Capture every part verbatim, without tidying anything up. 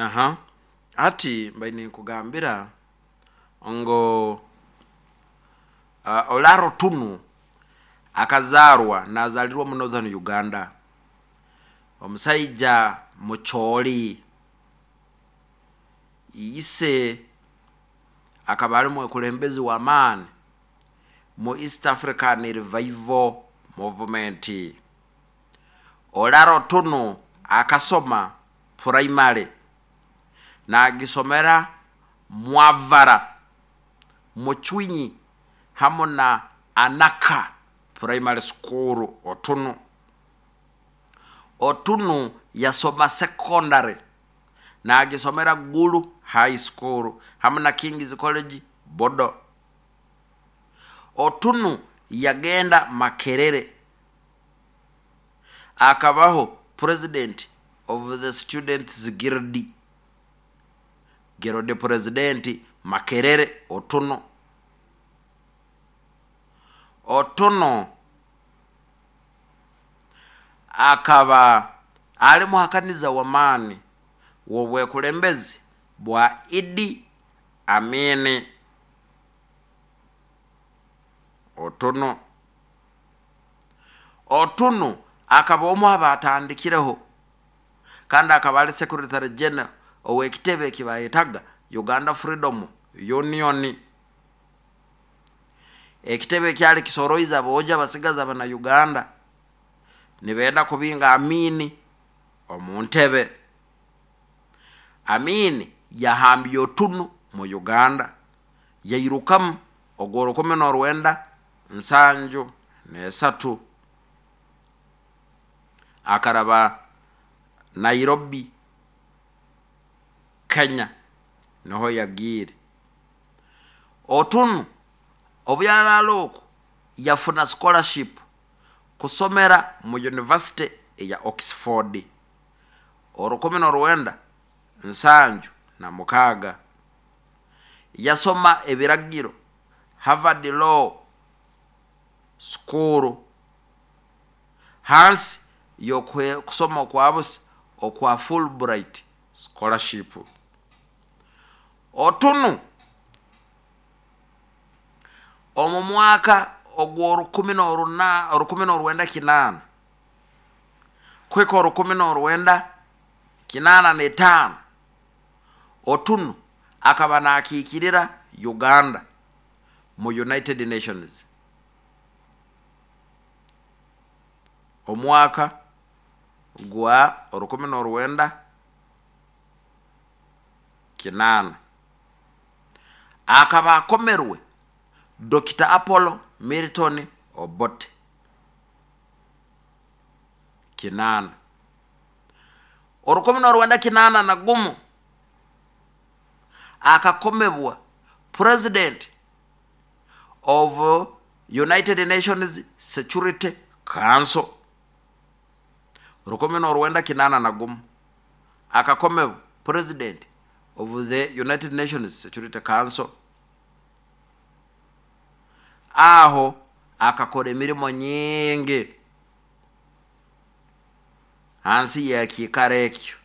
Aha, hati mbaire ninkugambira ngu uh, Olara Otunu akazarwa, nazalirwa mu Northern Uganda, omusaija mucholi. Ise akaba ali mwekulembezi w'amaani mu East African Revival Movement. Olara Otunu akasoma primary nagisomera Mwavara, Muchwinyi hamu na Anaka Primary School. Otunu Otunu yasoma secondary nagisomera Gulu High School hamu na Kings College Bodo. Otunu yagenda Makerere, akabaho president of the Students Guild, guild president Makerere. Otunu Otunu akaba ali muhakaniza w'amaani w'obwekulembezi bwa Idi Amini. Otunu Otunu akaba omu abatandikireho kandi akaba ali secretary general ow'ekitebe ekibayetaga Uganda Freedom Union, ekitebe ekyali kisoroize aboojo abasigazi abana Uganda nibenda kubinga Amini omu ntebe. Amini yahambye Otunu mu Uganda, yairukamu ogw'orukumi n'orwenda nsanju n'esatu, akaraba Nairobi, Kenya, niho yagiire. Otunu obu yaraara oku yafuna scholarship kusomera mu University eya Oxford orukumi n'orwenda nsanju na mukaaga. Yasoma ebiragiro Harvard Law School hansi y'okusoma okwa busa okwa Fulbright Scholarship. Otunu omu mwaka ogw'orukumi n'oruna orukumi n'orwenda kinaana kuhika orukumi n'orwenda kinaana n'etaano, Otunu akaba nakiikirira Uganda mu United Nations. Omwaka gwa orukumi n'orwenda kinaana akaba akomerwe Doctor Apollo Milton Obote. Kinaana, orukumi n'orwenda kinaana na gumu akakomebwa president of United Nations Security Council. Rukumi n'orwenda kinaana na gumu akakomebwa president of the United Nations Security Council. Aho akakora emirimo nyingi hansi y'ekiikaro ekyo.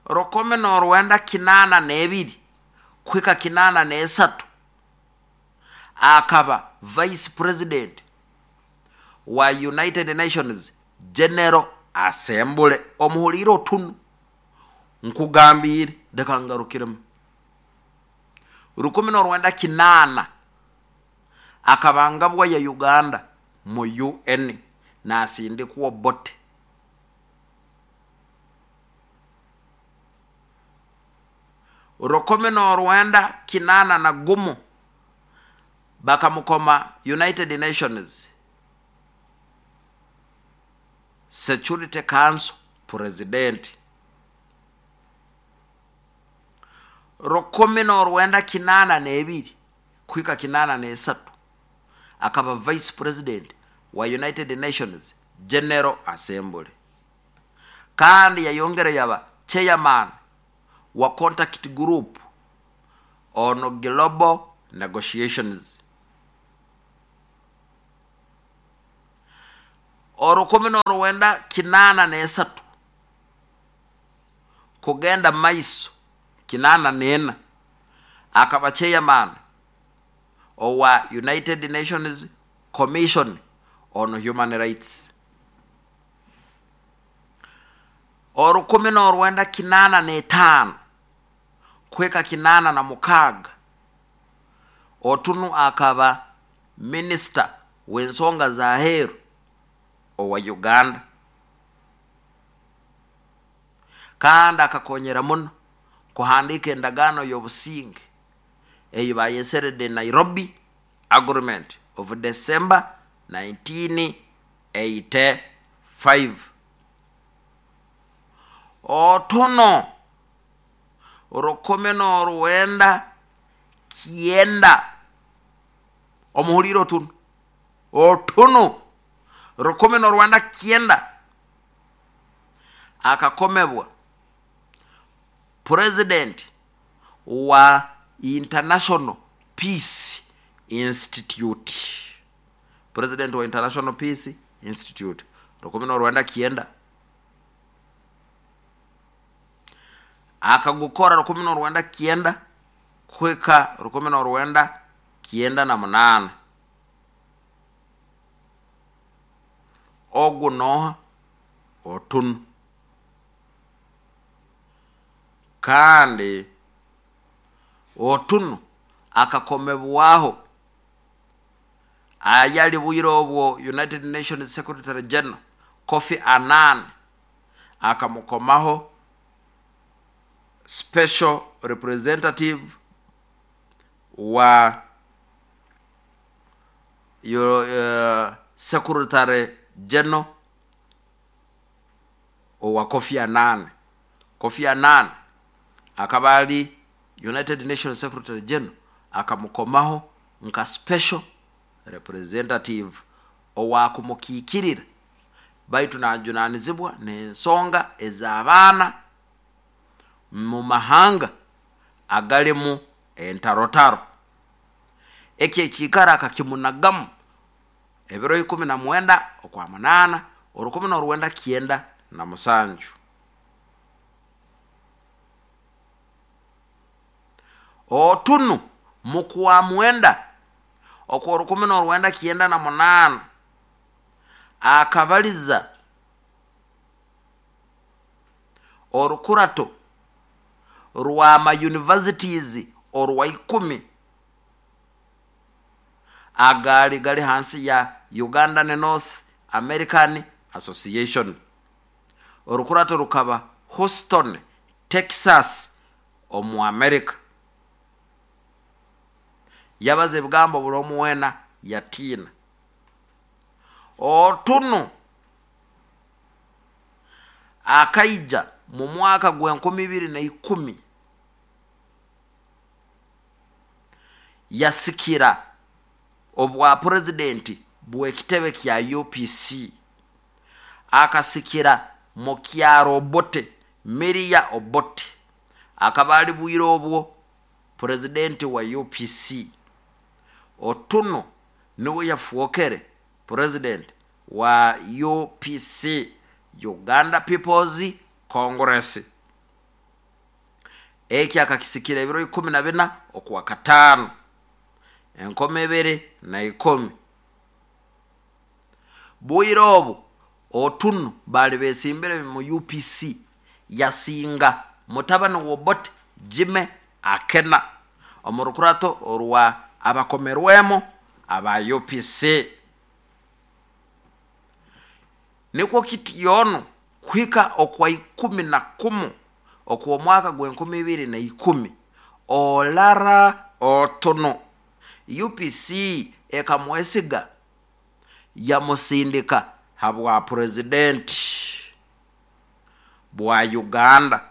Rukumi n'orwenda kinaana n'ebiri kuhika kinaana n'esatu akaba vice president wa United Nations General Assembly. Omuhuliire Otunu? Nkugambiire, leka ngarukiremu. Rukumi n'orwenda kinaana akaba ngabwa ya Uganda mu U N nasindikwa Obote. Rukumi n'orwenda kinaana na gumu bakamukoma United Nations Security Council president. Rukumi n'orwenda kinaana n'ebiri kuhika kinaana n'esatu akaba vice president wa United Nations General Assembly, kandi yayongera yaba chairman wa contact group on global negotiations. Orukumi n'orwenda kinaana n'esatu Kugenda maiso kinana nena akaba chairman owa United Nations Commission on Human Rights. Orukumi n'orwenda kinana n'etaano kweka kinana na mukaga Otunu akaba minisita w'ensonga za heru owa Uganda, kandi akakonyera muno kuhandika endagaano y'obusinge eyi bayesere the Nairobi Agreement of December nineteen eighty-five. Otuno rukumi n'orwenda kyenda omuhulire Otunu Otunu rukumi n'orwenda kyenda akakomebwa president wa International Peace Institute, president wa International Peace Institute rukumi n'orwenda kyenda akagukora rukumi n'orwenda kyenda kweka rukumi n'orwenda kyenda na munana. Ogu noha Otunu. Kandi Otunu akakomebwaho ayali bwire obwo United Nations Secretary General Kofi Annan akamukomaho special representative wa yo, uh, Secretary General owa Kofi Annan. Kofi Annan akaba ali United Nations Secretary General akamukomaho nka special representative owakumukikirira baitu najunanizibwa n'ensonga ez'abaana mu mahanga agalimu entarotaro. Eki ekiikara akakimunagamu ebiro ikumi na mwenda okwa munana orukumi n'orwenda kyenda na musanju. Otunu mukwa mwenda okwa orukumi n'orwenda kyenda na munana akabaliza orukurato rwa ma universities orwa ikumi agali gali hansi ya Uganda North American Association. Orukurato rukaba Houston, Texas omu America. Yabaze ebigambo buli omuwena yatiina. Otunu akaija mu mwaka gw'enkumi ibiri na ikumi yasikira obwa president bw'ekitebe kya U P C. Akasikira mukyaro Obote, Miria Obote akaba ali bwire obwo president wa U P C. Otunu niwe yafuokere president wa U P C, Uganda People's Congress. Eki akakisikira ebiro ikumi na bina okwa katano enkumi ibiri na ikumi. Bwire obu Otunu bali besimbire mu U P C yasinga mutabani w'Obote Jimmy Akena omurukurato orwa abakomerwemo aba U P C. Nikwo kityono kuhika okwa ikumi na kumu okwa mwaka gw'enkumi ibiri na ikumi Olara Otunu U P C ekamwesiga yamusindika habwa president bwa Uganda.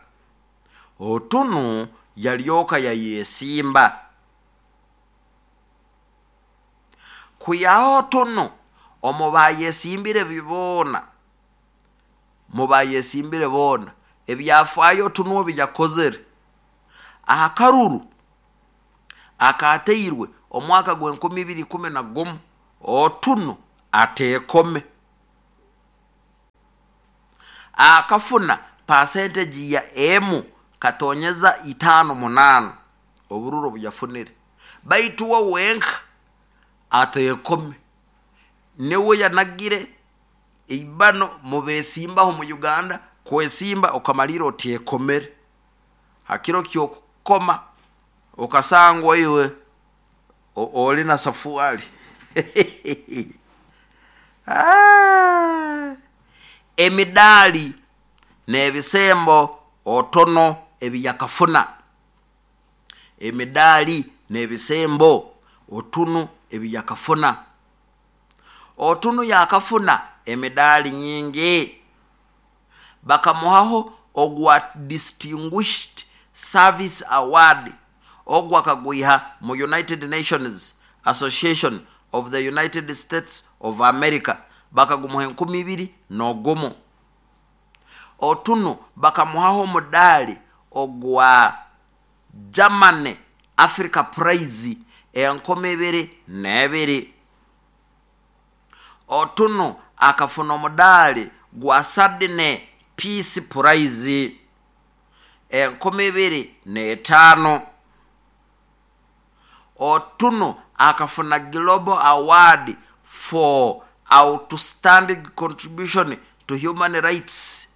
Otunu yalyoka yayesimba. Kuyaho Otunu omubayesimbire bibona mubayesimbire bona ebyafaayo Otunu obiyakozere ahakaruru akateirwe omwaka gw'enkumi ibiri ikumi na gumu Otunu atekome akafuna percentage ya emu katonyeza itano munano obururo buyafunire baitu we wenka atekome niwe yanagire ibano mubesimbaho mu Uganda kwesimba okamalira otekomere hakiro kyokukoma okasangwa iwe oli na safuali. Ah, emidali n'ebisembo otono ebiyakafuna, emidali n'ebisembo otunu ebiyakafuna, otunu yakafuna emidali nyingi. Bakamuhaho ogwa Distinguished Service Award ogwa kagwiha mu United Nations Association of the United States of America, bakagumuha enkumi ibiri n'ogumu. Otunu bakamuhaho omudali ogwa Germany Africa Prize enkumi ibiri n'ebiri. Otunu akafuna omudali gwa Sydney Peace Prize enkumi ibiri n'etaano. Otunu akafuna Global Award for Outstanding Contribution to Human Rights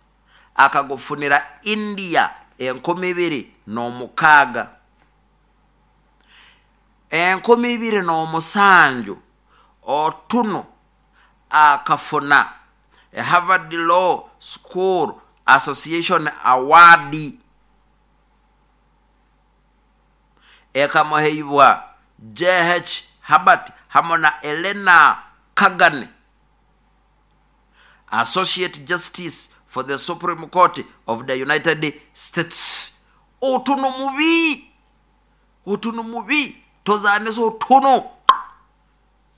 akagufunira India enkumi ibiri n'omukaaga. Enkumi ibiri n'omusanju Otunu akafuna Harvard Law School Association Award ekamuheibwa J H Herbert hamwe na Elena Kagan, Associate Justice for the Supreme Court of the United States. Otunu mubi, otunu mubi, tozanisa otunu.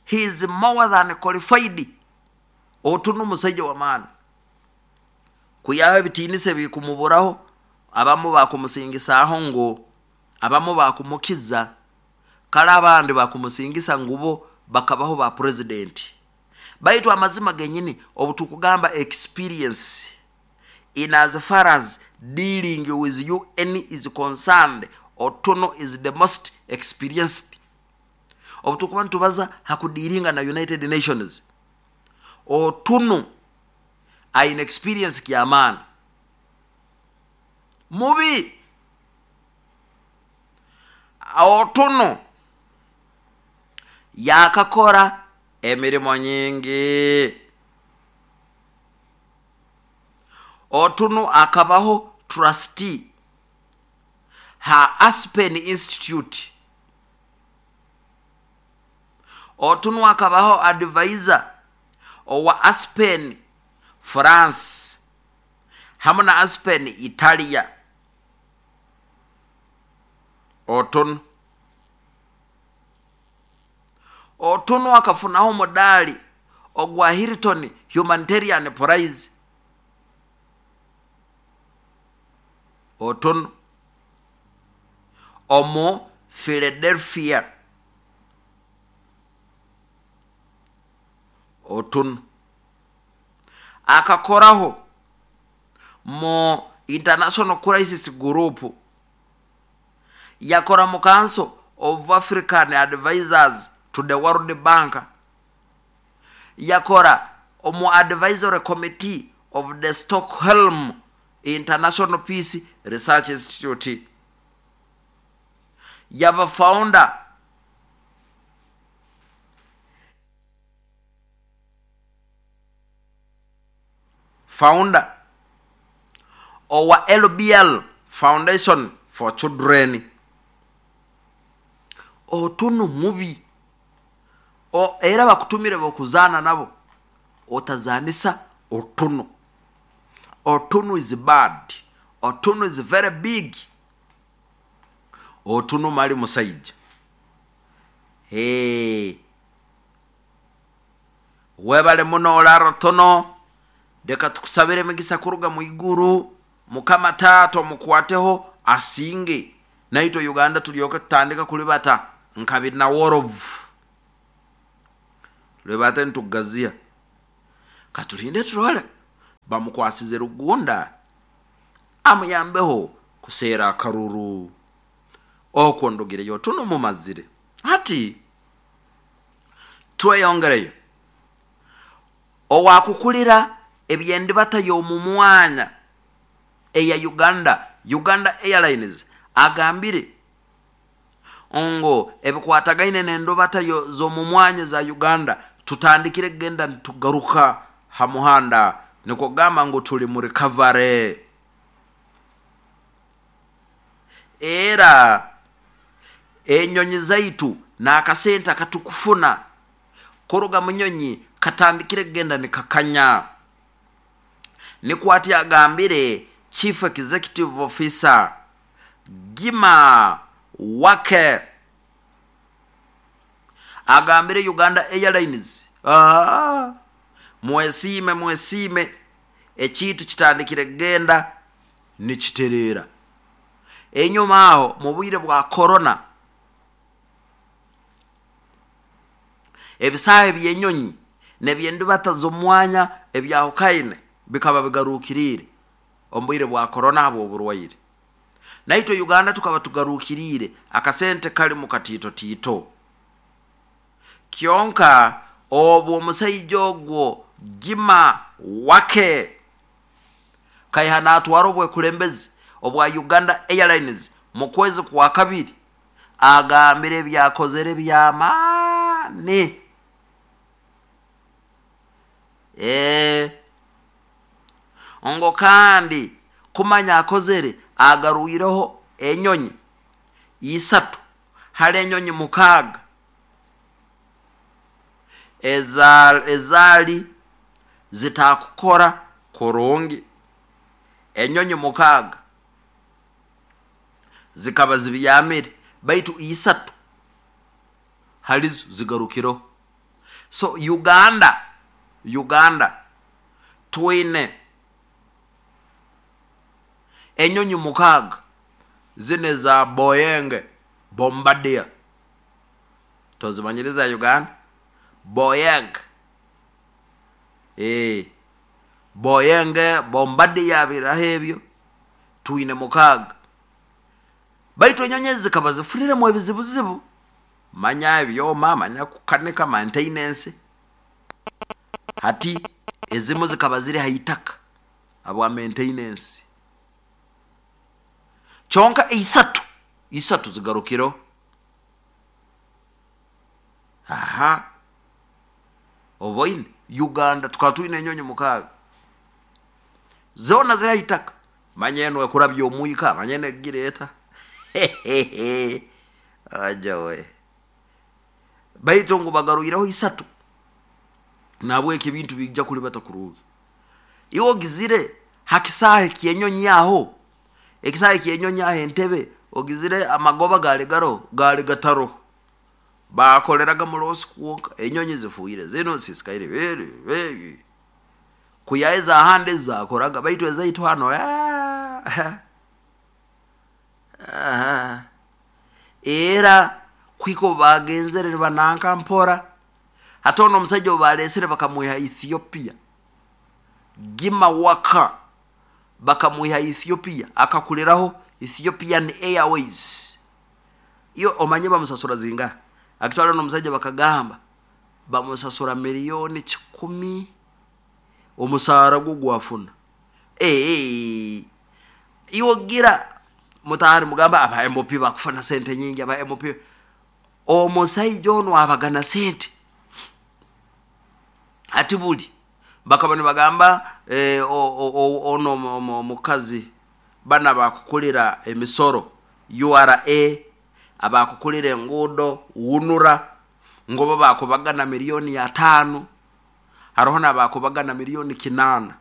He is more than qualified. Otunu musajja wa maana kuyaha ebitinise bikumuburaho, abamu bakumusingisaho ngo abamu bakumukiza, kale abandi bakumusingisa ngubo bakabaho ba president. Baitu amazima genyini obutukugamba experience in as far as dealing with U N is concerned, Otuno is the most experienced. Obutukuba ntubaza hakudiringa na United Nations, Otuno aina experience kiamana mubi. Otuno yakakora emirimo nyingi. Otunu akabaho trustee ha Aspen Institute. Otunu akabaho advisor owa Aspen France hamwe na Aspen Italia. Otunu Otunu akafunaho modali ogwa Hilton Humanitarian Prize. Otunu omu Philadelphia. Otunu akakoraho mu International Crisis Group, yakora mu Council of African Advisors to the World Bank, yakora omu Advisory Committee of the Stockholm International Peace Research Institute, yaba founder founder owa L B L Foundation for Children. Otunu mubi o era bakutumire bokuzana nabo otazanisa Otunu. Otunu is bad. Otunu is very big. Otunu mali musaija. Hey, webale muno olaro tono, deka tukusabire migisa kuruga muiguru. Mukama tato mukwateho asinge naito Uganda tulyoke tutandika kulibata nkabina worovu lebate ntugazia katulinde turole bamukwasize rugunda. Amuyambeho kuseera akaruru. Okwo ndugireyo tuno mumazire. Hati tweyongereyo. Owakukulira ebyendibata y'omumwanya eya Uganda, Uganda Airlines, agambire ngo ebikwatagaine n'endobata z'omumwanya za Uganda tutandikire kugenda tugaruka ha muhanda, nikwo kugamba ngu tuli mu recovery. Era enyonyi zaitu n'akasente akatukufuna kuruga mu nyonyi katandikire kugenda nikakanya. Nikwo ati agambire Chief Executive Officer Gima Wake agambire Uganda Airlines, ah, mwesiime mwesiime ekintu kitandikire kugenda nikitereera. Enyuma aho mu bwire bwa corona ebisaaha eby'enyonyi n'eby'endibata z'omwanya ebyahukaine bikaba bigarukiriire omu bwire bwa corona habw'oburwaire. Naitwe Uganda tukaba tugarukiriire akasente kali mu katiitotiito. Kyonka obwo omusaija ogwo Gima Wake kaiha natwara obwekulembezi obwa Uganda Airlines mu kwezi kwa kabiri agambire ebyakozere by'amaani. Eh, ngo kandi kumanya akozere agarwireho enyonyi isatu hali enyonyi mukaaga eza ezaali zitakukora kurungi. Enyonyi mukaaga zikaba zibyamire baitu isatu halizo zigarukireho. So Uganda Uganda twine enyonyi mukaaga zine za Boeing Bombardier. Tozimanyiriza Uganda? Boeing. Eh, Boeing Bombardier biraho ebyo twine mukaaga. Baitu enyonyi ezi zikaba zifuriremu ebizibuzibu, manya ebyoma, manya kukanika, maintenance. Hati ezimu zikaba ziri ha itaka habwa maintenance. Kyonka isatu isatu zigarukireho. Aha, oboine Uganda tukaba twine enyonyi mukaaga zoona ziri ha itaka, manya eno ekurabya omwika, manya eno egireeta. Ajawe baitu ngu bagarwireho isatu, nabweki ebintu bijja kulibata kurungi. Iwe ogizire ha kisaahe ky'enyonyi aho, ekisaahe ky'enyonyi aho Entebe, ogizire amagoba gaali garoho, gaali gataroho, bakoleraga mulosi kwonka, enyonyi zifuire zino zisisikaire kuyaeza ahandi zakoraga, baitu ezaitu hano ah, era kwika obu bagenzere nibananka mpora. Hati ono omusaija obu baleesere bakamwiha Ethiopia, Gima Waka bakamwiha Ethiopia, akakuliraho Ethiopian Airways. Iyo omanye bamusasura zingaha? Akitwala n'omusajja bakagamba bamusasura milioni kikumi omusaara gwo gwafuna. Eh, iwe gira mutahari mugamba aba M P bakufuna sente nyingi, aba M P. Omusaija ono abagana sente ati buli bakaba nibagamba eh, ono omukazi bana bakukulira emisoro U R A, abakukulira enguudo wunura, ngobo bakubagana milioni ya tano, haroho n'abakubagana milioni kinana.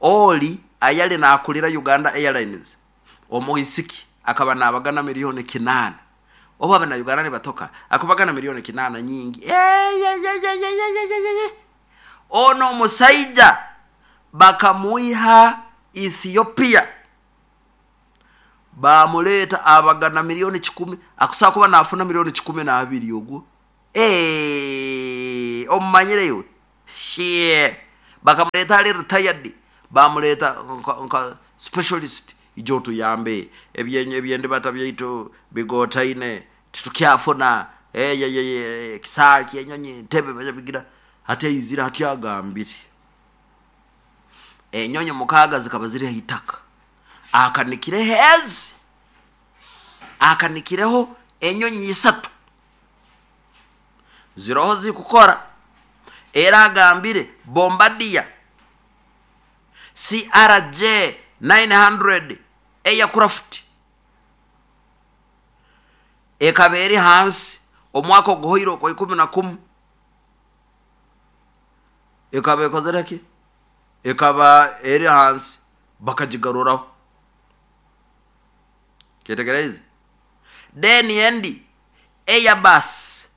Oli ayali nakulira Uganda Airlines omuisiki akaba nabagana milioni kinana. Oba abana Uganda nibatoka akubagana milioni kinana nyingi. Ono musaija bakamuiha Ethiopia bamuleta abagana milioni kikumi, akusaa kuba nafuna milioni kikumi na abiri ogwo. Eh, omumanyire iwe. Shie. Bakamuleta ali retired Bamuleta nka, nka specialist ijo tuyambe ebyenye ebyendibata byaitu bigotaine titukyafuna eh kisaki enyonyi ntebe bajabigira hati izira hati agambire enyonyi mukaga zikaba ziri hitaka akanikire hezi akanikireho enyonyi isatu ziroho zikukora. Era agambire Bombardier C R J nine hundred aircraft ekaberi hansi omwaka oguhoiro kwa ikumi na kumu ekaba ekozereki ekaba eri hansi bakajigaruraho. Ketegereze then endi Airbus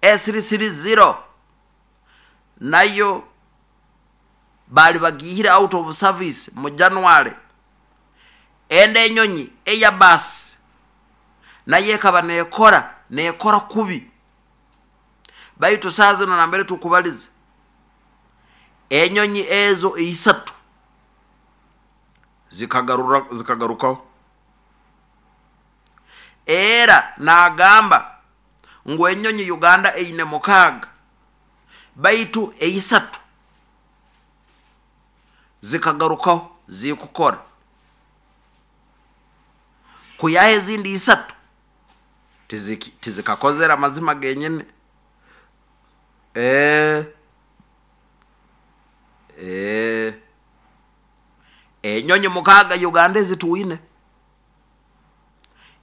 S three three zero nayo bali bagihira out of service mu January. Ende enyonyi Airbus naye ekaba nekora nekora kubi baitu saza na nambere tukubaliza enyonyi ezo isatu zikagarura zikagarukaho. Era nagamba ngu enyonyi Uganda eine mukaga baitu eisatu zikagarukaho zikukora kuyahe ezindi isatu tiziki tizikakozera mazima genyene. Eh eh enyonyi mukaga Uganda ezituine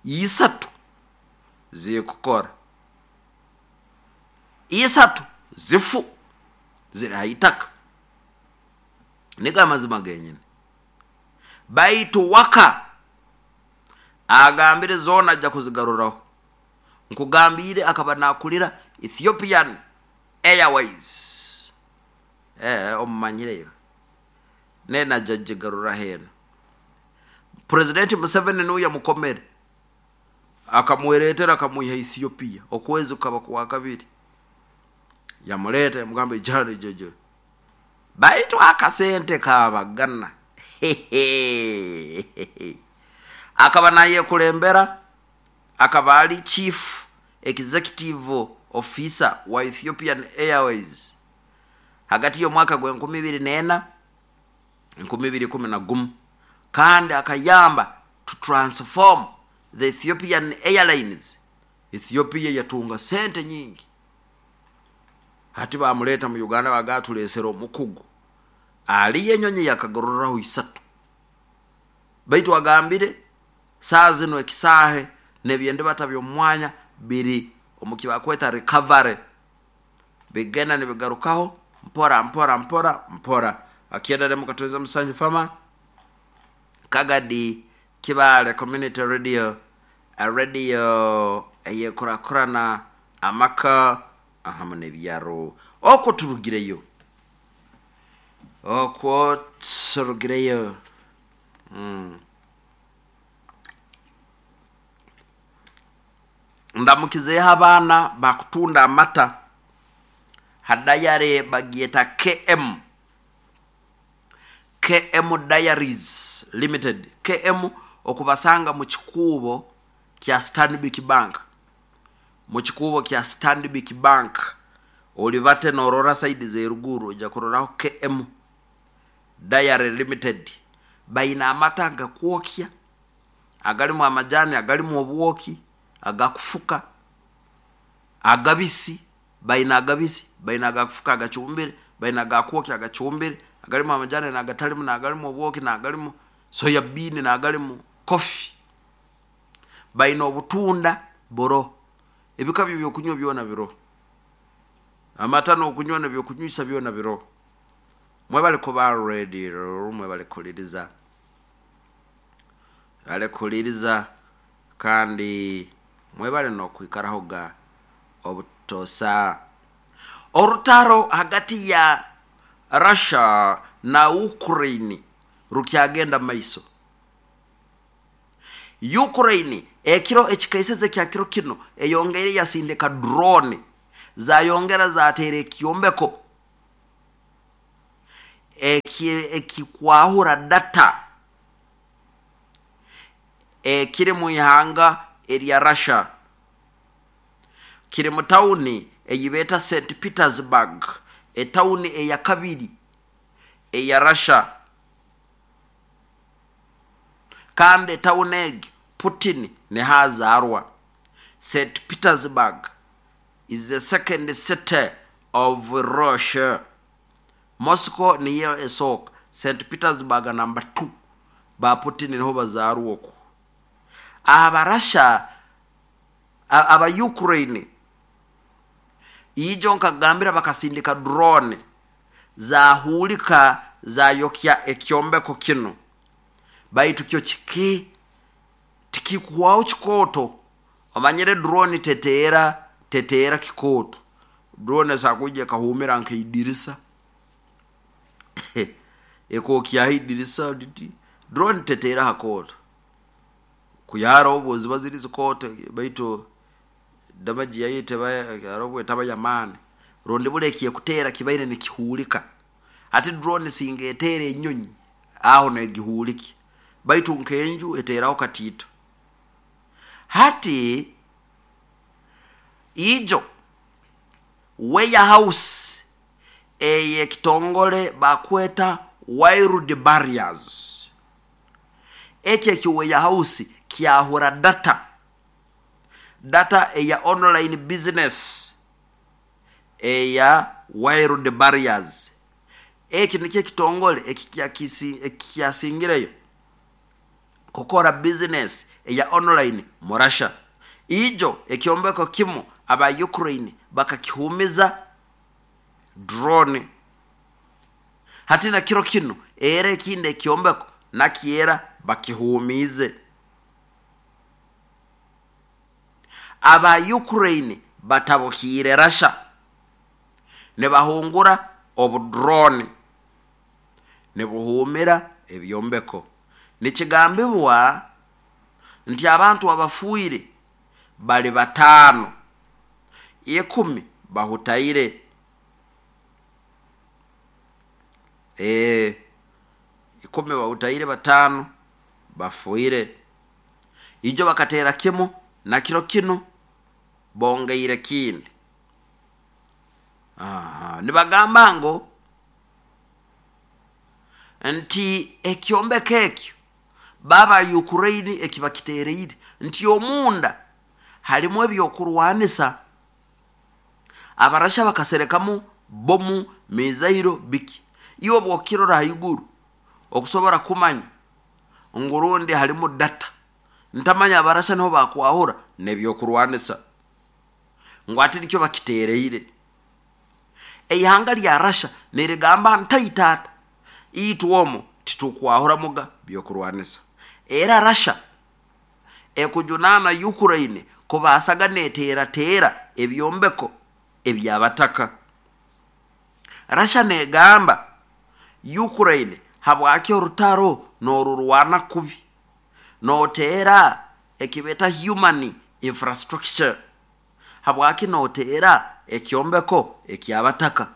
isatu zikukora isatu zifu ziri haitaka niga mazima genyene. Baitu waka agambire zona ajja kuzigaruraho. Nkugambire akaba nakulira Ethiopian Airways eh omumanyireyo nena jajigarura heno. President Museveni nuya mukomere akamweretera akamuha Ethiopia okwezi kukaba kwa kabiri yamuleta yamugamba ijana jeje baitu akasente kabagana akaba naye kulembera akaba ali chief executive officer wa Ethiopian Airways hagati y'omwaka gwa enkumi ibiri nena enkumi ibiri kumi na gumu, kandi akayamba to transform the Ethiopian Airlines. Ethiopia yatunga sente nyingi hati bamuleta mu Uganda bagatulesera omukugu ali enyonyi yakagororeraho isatu. Baitu agambire saa zino ekisahe nebyende batabyo omwanya biri omukibakweta recovery bigenda nibigarukaho mpora mpora mpora mpora. Akienda demu katuweza Musanju Fama Kagadi Kibale Community Radio, a radio eyekurakurana amaka ahamwe n'ebyaro. Okwo turugireyo okwo turugireyo mm. Ndamukizeho abaana bakutunda amata hadayare bagieta K M K M Diaries Limited. K M okubasanga mu kikubo kya Stanbic Bank, mu kikubo kya Stanbic Bank olibate norora side zeruguru ojja kuroraho K M Diary Limited. Baina amata gakwokya agalimu amajani agalimu obwoki agakufuka agabisi baina agabisi baina agakufuka agachumbire baina agakwokya agachumbire agalimu amajani nagatalimu nagalimu obwoki nagalimu soya bean nagalimu coffee. Baina obutunda boro ebika byo byokunywa byona biro amata n'okunywa nabyo kunywisa byona biro. Mwebale kuba ready mwebale kuliriza bale kuliriza kandi mwebale n'okwikaraho ga obutosa. Orutaro hagati ya Russia na Ukraine rukyagenda maiso. Ukraine ekiro ekikaiseze kya kiro kino eyongere yasindika drone zayongera zatere ekyombeko Ekikwahura data ekiri mu ihanga erya Russia, kiri mu tawuni eyibeeta Saint Petersburg, etawuni eya kabiri eya Russia. Kandi etawuni egi Putin nihazaarwa. Saint Petersburg is the second city of Russia. Moscow niyo esooka, Saint Petersburg number two. Ba Putin niho bazaarwa okwo. Abarasha, aba Ukraine ijo nkagambira bakasindika drone zahulika zayokya ekyombeko kino, baitu kyo kiki tikikuwaho kikooto. Omanyire drone teteera teteera kikooto. Drone esakuija ekahumira nkaidirisa ekokyaho idirisa riti. Drone teteera hakooto kuyara obwo ziba ziri zikooto, baitu damage yayo teba harobwo etaba yamaani, rundi buli ekyekuteera kibaire nikihuulika. Hati drone singa eteera enyonyi aho negihuulikya, baitu nkenju eteeraho katiito. Hati ijo warehouse eyekitongole bakweta Wild Barriers, ekyo eki warehouse kyahura data data eya online business eya Wild Barriers. Eki nikyo ekitongole ekikyasingireyo kukora business eya online mu Russia. Ijo ekyombeko kimu aba Ukraine bakakihumiza drone. Hati na kiro kinu era ekindi ekyombeko nakyera bakihumize. Aba Ukraine batabukiire Russia nibahungura obudrone nibuhumira ebyombeko. Nikigambibwa nti abantu abafuire bali bataano, ikumi bahutaire. Ee, ikumi bahutaire, bataano bafuire. Ijo bakateera kimu na kiro kinu bongeire kindi. Aha, nibagamba ngu nti ekyombeko ekyo baba Ukraine ekibakiteereire nti omunda harimu ebyokurwanisa. Abarasha bakaserekamu bomu, mizairo, biki. Iwe bwokirora haiguru okusobora kumanya ngu rundi harimu data, ntamanya abarasha niho bakwahura nebyokurwanisa, ngu ati nikyo bakiteereire. Eihanga lya Russia nirigamba ntai taata, itwe omu titukwahuramuga byokurwanisa. Era Russia ekujunaana Ukraine kubasaga neteerateera ebyombeko ebyabataka. Russia negamba Ukraine, habwaki orutaro norurwana kubi, noteera ekibeta human infrastructure, habwaki noteera ekyombeko ekyabataka,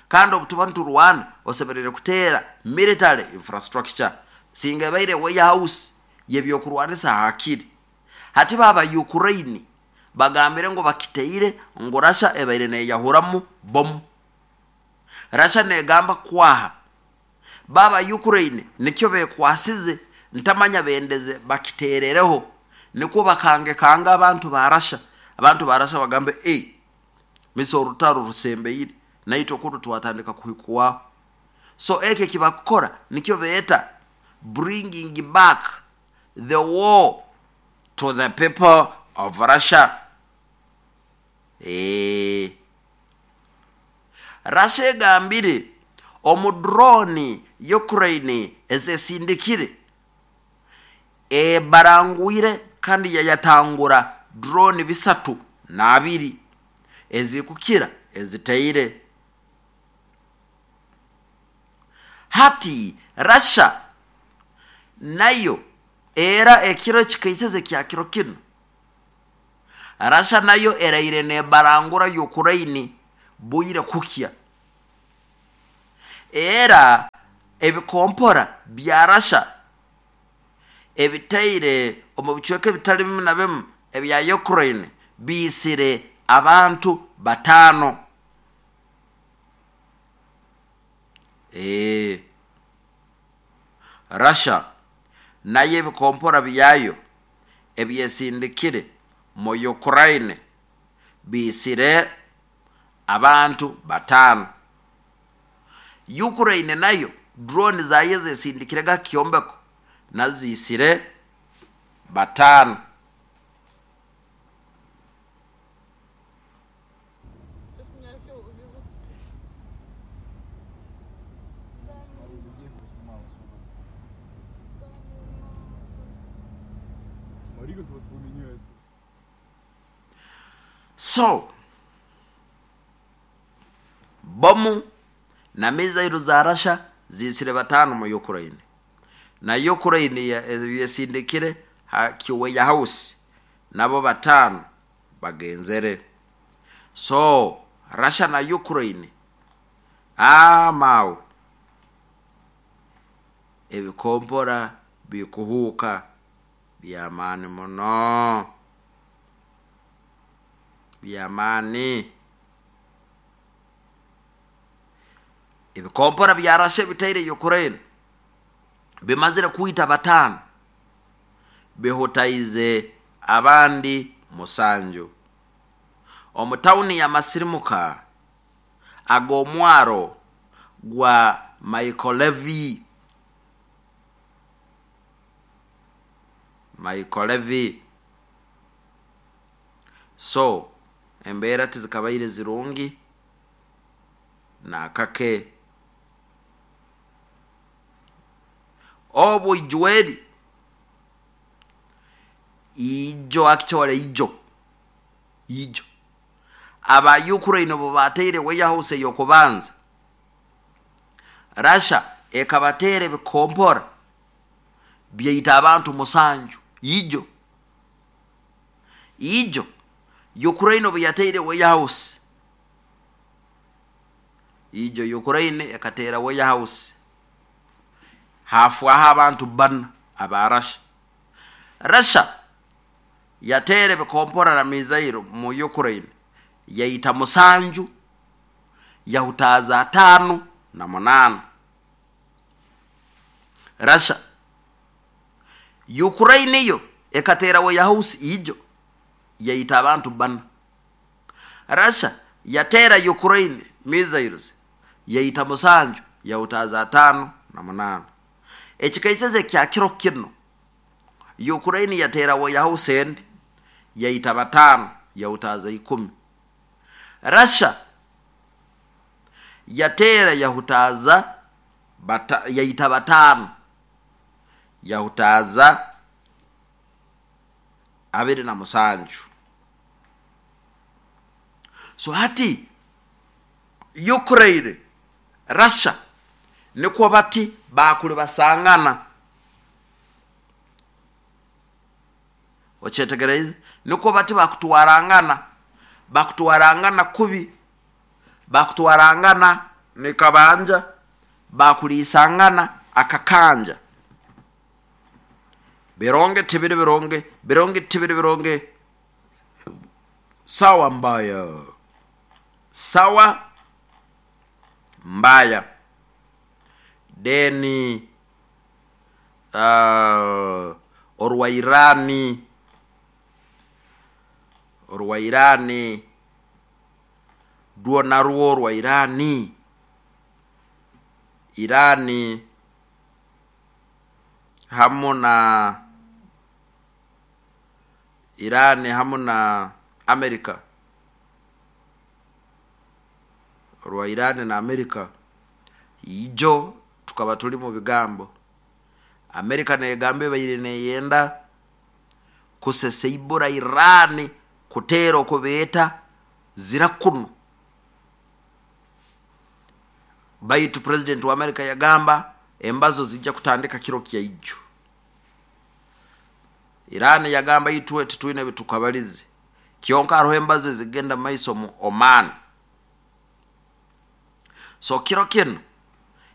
kandi obutuba niturwana osemerere kuteera military infrastructure, singa ebaire warehouse yebyokurwanisa hakiri. Hati baba Ukraine bagambire ngu bakiteire ngu Russia ebaire neyahuramu bomu. Russia negamba kwaha baba Ukraine nikyo bekwasize, ntamanya bendeze bakiteerereho nikwo bakangekanga abantu ba Russia. Abantu ba Russia bagambe e misa orutaro rusembeire naitwe kunu twatandika kuhikwaho. So ekyo ekibakukora nikyo beeta bringing back the war to the people of Russia. E, Russia egambire omu drone Ukraine ezesindikire ebarangwire kandi yayatangura drone bisatu n'abiri ezikukira eziteire. Hati Russia nayo era ekiro kikaiseze kya kiro kinu, Russia nayo eraire nebarangura Ukraine bwire kukya. Era ebikompora bya Russia ebitaire omu bicweka ebitali bimu na bimu ebya Ukraine biisire abantu bataano. Ee Russia nayo ebikompora byayo ebyesindikire mu Ukraine biisire abantu bataano. Ukraine nayo drone zayo zesindikire ga kyombeko nazo ziisire bataano. Сейчас меня еще увезут. Да Пару не людей снималось. Да ну нахуй. Смотри, как воспламеняется. So bomu na mizairu za Russia ziisire bataano mu Ukraine, na Ukraine yesindikire ha kiweya house nabo bataano bagenzere. So Russia na Ukraine amawe ebikompora bikuhuuka byamaani muno, byamaani. Ebikompora bya Russia bitaire Ukraine bimazire kwita bataano, bihutaize abandi musanju. Omu tawuni ya Masirimuka ag'omwaro gwa Mykolaiv, Mykolaiv. So embeera tizikabaire zirungi nakake. Obwo ijweri ijo actually ijo ijo aba Ukraine bo bateire warehouse yokubanza, Russia ekabateera ebikompora byaita abantu musanju. Ijo ijo Ukraine obu yateire warehouse, ijo Ukraine ekateera warehouse hafwaho abantu bana aba Russia. Russia yateera ebikompora na mizairo mu Ukraine yaita musanju, yahutaaza ataano na munaana. Russia Ukraine yo ekateera warehouse ijo yaita abantu bana. Russia yateera Ukraine missiles yaita musanju, yahutaaza ataano na munaana. Ekikaiseze kya kiro kino Ukraine yateera warehouse endi yaita bataano, yahutaaza ikumi. Russia yateera yahutaaza bata, yaita bataano, yahutaaza abiri na musanju. So hati Ukraine Russia nikwo bati bakuli basangana, okyetegereze, nikwo bati bakutwarangana, bakutwarangana kubi, bakutwarangana nikabanja, bakulisangana akakanja. Bironge tibiri bironge, bironge tibiri bironge, sawa mbaya, sawa mbaya. Deni uh, orwa Irani, orwa Irani rwo narwo orwa Irani, Irani hamu na Irani hamu na Amerika, orwa Irani na Amerika ijo tukaba tuli mu bigambo. Amerika negamba ebaire neyenda kuseseibura Irani kuteera okubeeta zira kuno, baitu president wa Amerika yagamba embazo zijja kutandika kiro kya ijo. Irani yagamba itwe titwine bitukabalize, kyonka hariho embazo ezigenda maiso mu Oman. So kiro kino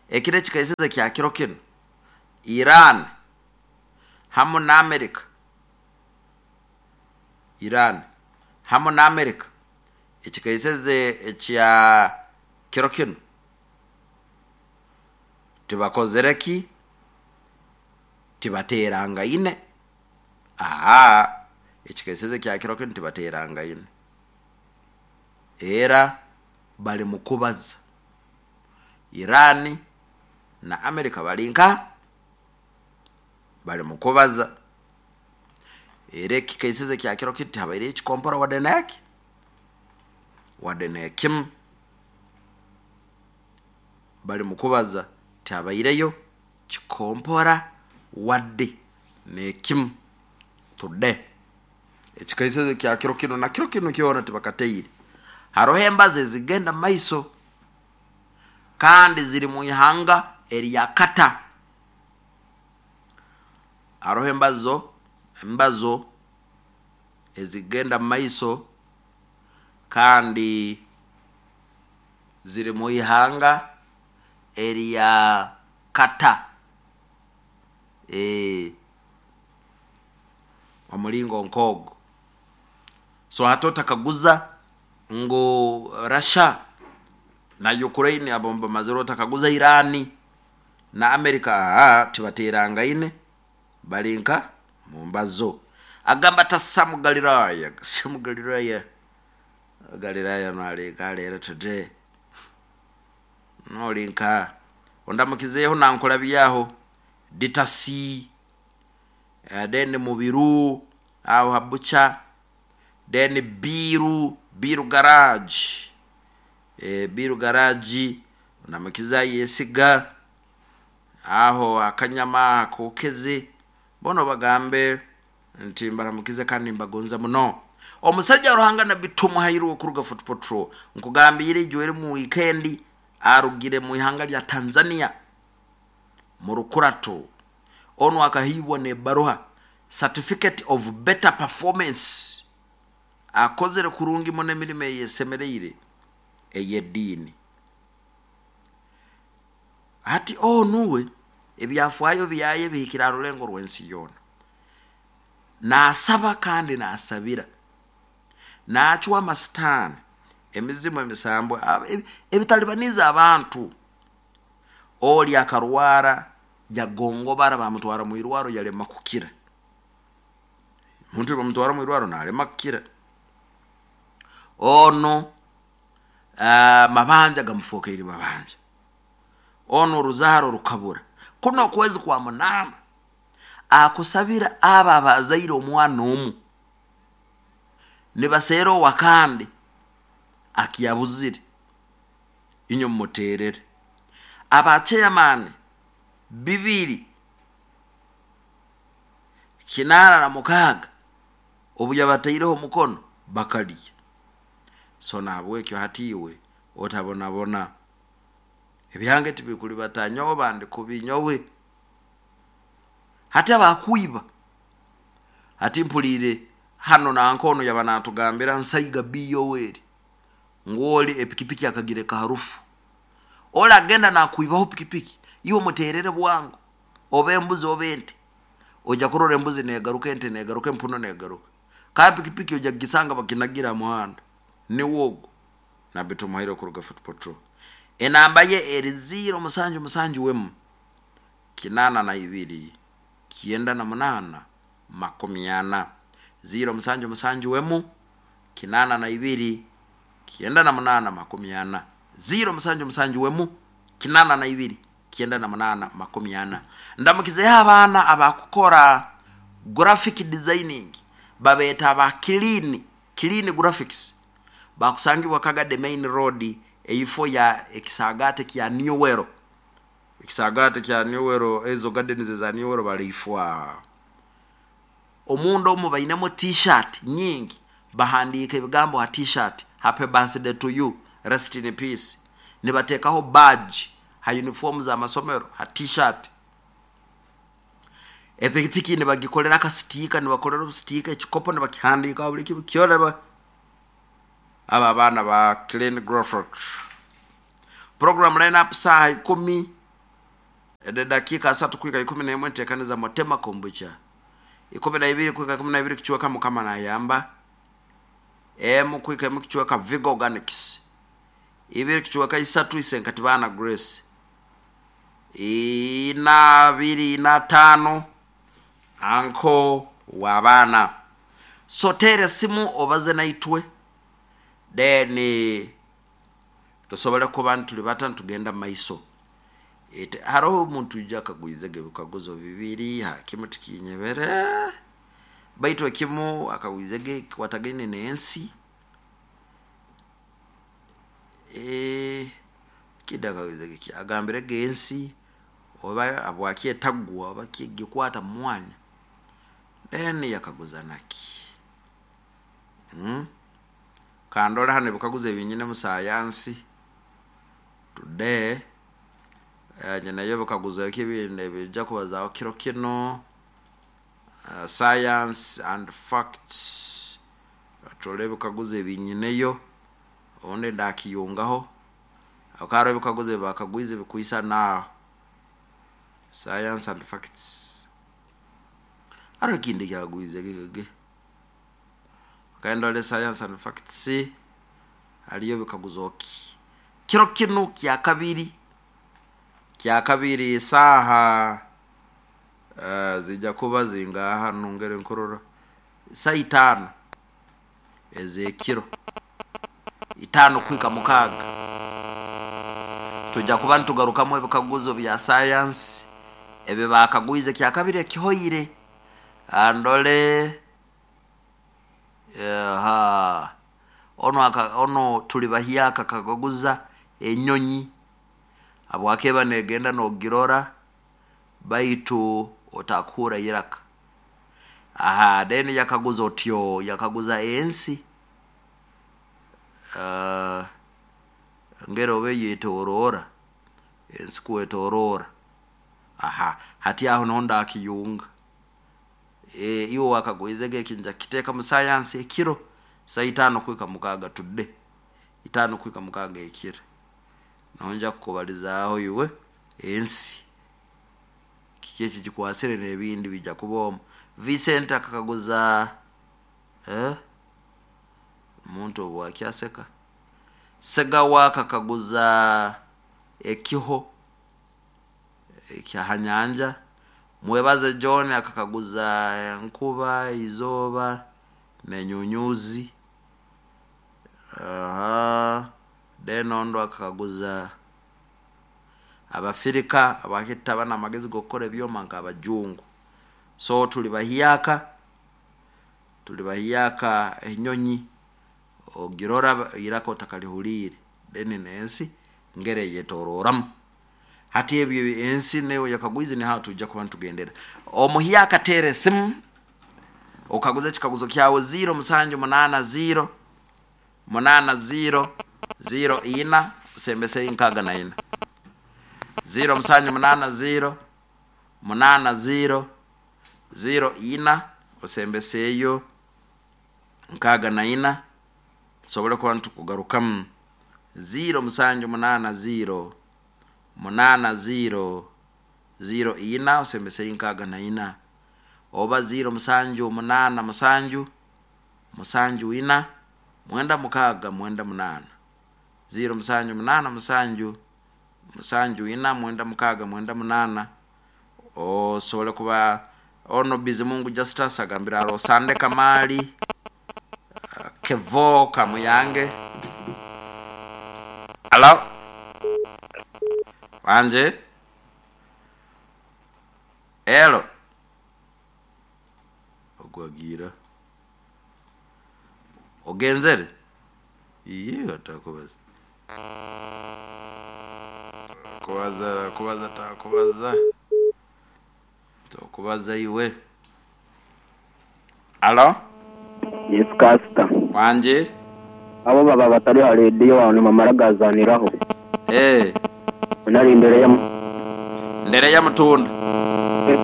Ekiro ekikaiseze kya kiro kinu, Iran hamu na Amerika, Iran hamu na Amerika, ekikaiseze ekya kiro kinu tibakozere ki, tibateerangaine. Aa, ekikaiseze kya kiro kinu tibateerangaine, era bali mu kubaza. Iran na Amerika bali nka bali mu kubaza, era ekikaiseze kya kiro kinu tihabaireyo ekikompora wadde neki wadde nekimu. Bali mu kubaza, tihabaireyo kikompora wadde nekimu today. Ekikaiseze kya kiro kinu na kiro kinu kyona tibakateire. Haroho embazo ezigenda maiso kandi ziri mu ihanga erya Kata. Haroho embazo embazo ezigenda maiso kandi ziri mu ihanga erya Kata. E, omulingo nk'ogwo. So hati otakaguza ngu Russia na Ukraine abo bamazire, otakaguza Irani na Amerika, aa, tibateerangaine, bali nka mu mbazo. Agamba tasamu Galilaya, samu Galilaya, Galilaya naleka leero today nolinka ondamukizeeho nankulabyaho ditasi, uh, then Mubiru aho habucha, then Biru Biru garage, e, Biru garage ondamukiza yesiga aho akanyama akokeze bono bagambe nti mbaramukize kandi mbagonza muno. Omusajja Ruhanga Nabbi Tumuhairwe okuruga Foot Patrol nkugambire ijwere mu weekend arugire mu ihanga lya Tanzania mu Rukurato. Ono akahibwa ne baruha certificate of better performance, akozere kurungi muno emirimo eyesemereire ey'eddiini. Hati onuwe ebyafaayo byaye bihikire aha rulengo rw'ensi yoona. Naasaba kandi naasabira, naacwa amasitaani, emizimu, emisambo ebitalibaniza abantu. Oli akarwara yagongobara, bamutwara mu irwaro yalema kukira. Muntu bamutwara mu irwaro nalema kukira. Ono uh, mabanja gamufokeire mabanja, ono oruzaaro rukabura. Kuno okwezi kwa munaana akusabira aba abazaire omwana omu nibaseera owakandi akiyabuzire, inywe mumuteerere. Aba chairman bibiri kinaana na mukaaga obu yabataireho omukono bakalya. So nahabwekyo hati iwe otabonabona, ebyange tibikulibata nyowe bandi kubi nyowe. Hati abakwiba, hati mpuliire hano nankono yaba natugambira Nsaiga Biyoweri ngwoli epikipiki akagireka harufu. Oli agenda nakwibaho pikipiki, iwe muterere bwangu oba embuzi oba ente, ojja kurora embuzi negaruka, ente negaruka, empuno negaruka. Ka pikipiki ojja kugisanga bakinagira muhanda niwogo. Nabbi Tumuhaire okuruga Foot Patrol. Enamba ye eri ziro musanju musanju wemu kinana na ibiri kienda na munana makumi ana. Ziro musanju musanju wemu kinana na ibiri kienda na munana makumi ana. Ziro musanju musanju wemu kinana na ibiri kienda na munana makumi ana. Ndamukizeho abaana abakukora graphic designing, babeeta aba clean, clean graphics, bakusangibwa Kagade main road eifo ya ekisagate kya Newero. Ekisagate kya Newero, ezo gardens za Newero baliifwa omundu omu bainemo t-shirt nyingi, bahandiika ebigambo ha t-shirt, happy birthday to you, rest in peace. Nibateekaho badge ha uniform za masomero ha t-shirt. Epikipiki nibagikolera akasitika, nibakolera obusitika, ekikopo nibakihandiika buli kimu kyona. Aba abaana ba clean graphics. Program line up saa ikumi Eddakiika asatu kwika ikumi n'emwe nteekaniza mutema kombucha. Ikumi na ibiri kwika ikumi na ibiri kichweka Mukama nayamba. Emu kwika emu kichweka Vigo Organics. Ibiri kichweka isatu Isenkatibana Grace. Ina abiri ina tano anko w'abaana. So teera simu obaze naitwe, then tusobole kuba ntuli bata ntugenda mu maiso. Ete hariho omuntu ija akagwizege ebikaguzo bibiri hakimu tikinyebere, baitu ekimu akagwizege kikwatagaine n'ensi. Eh, kida akagwizege ki agambirege ensi oba abwaki etagwa oba kigikwata mu mwanya, then yakaguza naki. mm? Kandora hano ebikaguzo ebinyine mu sayansi today. Eh, nyinayo ebikaguzo ekibindi ebijja kubazaaho kiro kino. uh, science and facts, turole ebikaguzo ebinyineyo obundi ndakiyungaho. Ako hariho ebikaguzo ebibakagwize bikwisa naaho science and facts. Hariho ekindi kyagwize gege kandole science and facts, hariyo bikaguzo ki kiro kinu kya kabiri kya kabiri saaha uh, zijja kuba zingaha nongere nkurora saa itaano ez'ekiro, itaano kwika mukaaga, tujja kuba nitugarukamu ebikaguzo bya science ebi bakagwize kya kabiri ekihoire. Andole aha ono aka, ono tuli bahyaka kakaguza enyonyi habwakeba negenda nogirora baitu otakuhura iraka. Aha, then yakaguza otyo yakaguza ensi uh, ngero obe yetorora ensi kwetorora. Aha, hati aho niho ndakiyunga. E, iwe wakagwizege ekinja kiteeka mu science ekiro saa itaano kwika mukaaga tudde itaano kwika mukaaga ekiro naho nja kukubalizaaho iwe ensi kiki ekyo kikwasire n'ebindi bijja kuba omu. Vincent akakaguza eh? Omuntu obu akyaseka. Segawa akakaguza ekiho ekyaha nyanja. Mwebaze John akakaguza enkuba, izooba n'enyunyuzi. Aha, then ondo akakaguza Abafirika abakita bana amagezi g'okukora ebyoma nk'abajungu. So tuli bahyaka tuli bahyaka enyonyi ogirora iraka otakalihuliire, then n'ensi ngere eyetororamu. Hati ebyo ensi newe yakagwize ni haho tujja kuba nitugendera. Omuhyaka teera esimu okaguza ekikaguzo kyawe ziro musanju munaana ziro munaana ziro ziro ina osembese nkaaga na ina. Ziro musanju munaana ziro munaana ziro ziro ina osembeseeyo nkaaga na ina, tusobole kuba nitukugarukamu. Ziro musanju munaana ziro munaana ziro ziro ina osembeseeyo nkaaga na ina, oba ziro musanju munaana musanju musanju ina mwenda mukaaga mwenda munaana. Ziro musanju munaana musanju musanju ina mwenda mukaaga mwenda munaana osobole kuba ono. Bizimungu Justus agambira aro Sande Kamali, uh, Kevo Kamuyange. Alo wanje elo ogwagira ogenzere iye atakubaza kubaza kubaza takubaza tokubaza iwe. Alo. Yes, Kasita. Wanje. Abo baba batari ha rediyo wawe nimamara gazaniraho. Eh, Nari imbere ya ndere ya mutunda.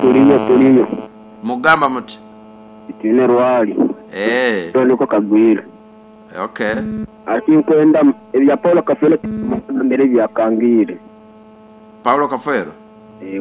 Turiyo turiyo. Mugamba muti. Itine rwali. Eh, Niko kagwira. Okay. Ati nkwenda ebya Paul Kafele mbere byakangire. Paulo Kafero. Eh.